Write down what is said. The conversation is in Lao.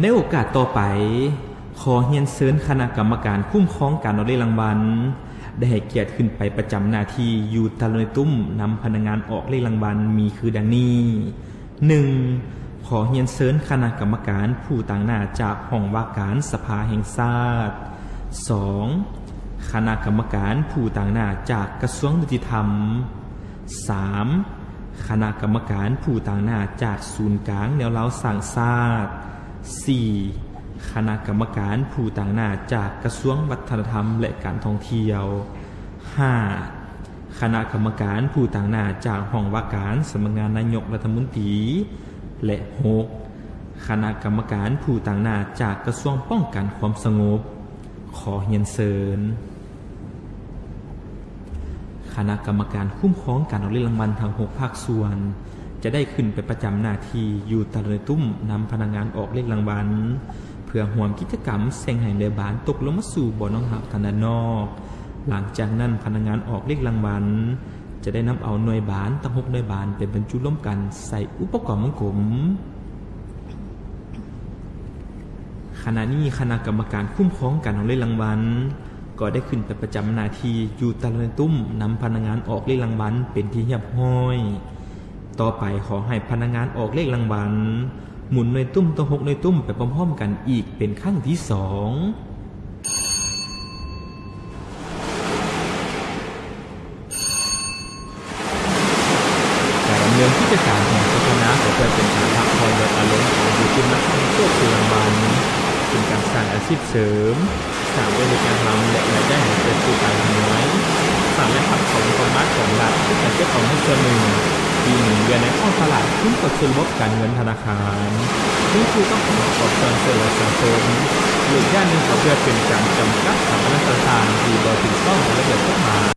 ໃນໂອກາດຕໍ່ໄປ, ຂໍຮຽນເຊີນຄະນະກຳມະການຄຸ້ມຄອງການອອກເລກລາງວັນ ໄດ້ໃຫ້ກຽດຂຶ້ນໄປປະຈຳໜ້າທີ່ຢູ່ຕາລຸງໃນຕຸ້ມນຳພະນັກງານອອກເລກລາງວັນມີຄືດັ່ງນີ້. ໜຶ່ງ, ຂໍຮຽນເຊີນຄະນະກຳມະການຜູ້ຕາງໜ້າຈາກຫ້ອງວ່າການສະພາແຫ່ງຊາດ. ສອງ, ຄະນະກຳມະການຜູ້ຕາງໜ້າຈາກກະຊວງຍຸຕິທຳ. ສາມ, ຄະນະກຳມະການຜູ້ຕາງໜ້າຈາກສູນກາງແນວລາວສ້າງຊາດ. ສີ່, ຄະນະກຳມະການຜູ້ຕາງໜ້າຈາກກະຊວງວັດທະນະທຳ ແລະ ການທ່ອງທ່ຽວ. ຫ້າ, ຄະນະກຳມະການຜູ້ຕາງໜ້າຈາກຫ້ອງວ່າການສຳນັກງານນາຍົກລັດຖະມົນຕີ. ແລະ ຫົກ, ຄະນະກຳມະການຜູ້ຕາງໜ້າຈາກກະຊວງປ້ອງກັນຄວາມສະຫງົບ. ຂໍຮຽນເຊີນ. ຄະນະກຳມະການຄຸ້ມຄອງການອອກເລກລາງວັນທັງຫົກພາກສ່ວນ ຈະໄດ້ຂຶ້ນໄປປະຈຳໜ້າທີ່ຢູ່ຕາລຸງໃນຕຸ້ມນຳພະນັກງານອອກເລກລາງວັນ ເພື່ອຮ່ວມກິດຈະກຳແສ່ງໃຫ້ໜ່ວຍບານຕົກລົງມາສູ່ບໍ່ອນຮອບທາງດ້ານນອກ. ຫຼັງຈາກນັ້ນ, ພະນັກງານອອກເລກລາງວັນ ຈະໄດ້ນຳເອົາໜ່ວຍບານທັງຫົກໜ່ວຍບານໄປບັນຈຸລວມກັນໃສ່ອຸປະກອນວົງກົມ. ຂະນະນີ້ຄະນະກຳມະການຄຸ້ມຄອງການອອກເລກລາງວັນ ກໍໄດ້ຂຶ້ນໄປປະຈຳໜ້າທີ່ຢູ່ຕາລຸງໃນຕຸ້ມນຳພະນັກງານອອກເລກລາງວັນເປັນທີ່ຮຽບຮ້ອຍ. ຕໍ່ໄປຂໍໃຫ້ພະນັກງານອອກເລກລາງວັນ ໝູນໜ່ວຍຕຸ້ມທັງຫົກໜ່ວຍຕຸ້ມໄປພ້ອມໆກັນອີກເປັນຄັ້ງທີສອງ. ການດຳເນີນກິດຈະການຂອງສະພາກໍເພື່ອເປັນການພັກຜ່ອນລດອາລົມຂອງຜູ້ທີ່ມາເຂົ້າຮ່ວມເລກລາງວັນ, ເປັນການສ້າງອາຊີບເສີມ, ສ້າງເວລາເຮັດງານທຳ ແລະ ລາຍໄດ້ໃຫ້ແກ່ຜູ້ຕາງໜ້າ, ສ້າງລາຍຮັບເຂົ້າງົບປະມານຂອງລັດ ເພື່ອການເກັບອອມເງິນສ່ວນໜຶ່ງ, ທີ່ໝູນວຽນໃນທ້ອງຕະຫຼາດ, ທຶນເຂົ້າສູ່ລະບົບການເງິນທະນາຄານ, ຄືນສູ່ກັບຜົນປະກອບສ່ວນຊ່ວຍເຫຼືອສັງຄົມ. ອີກຢ່າງໜຶ່ງກໍເພື່ອເປັນການຈຳກັດສະຖາປະນະ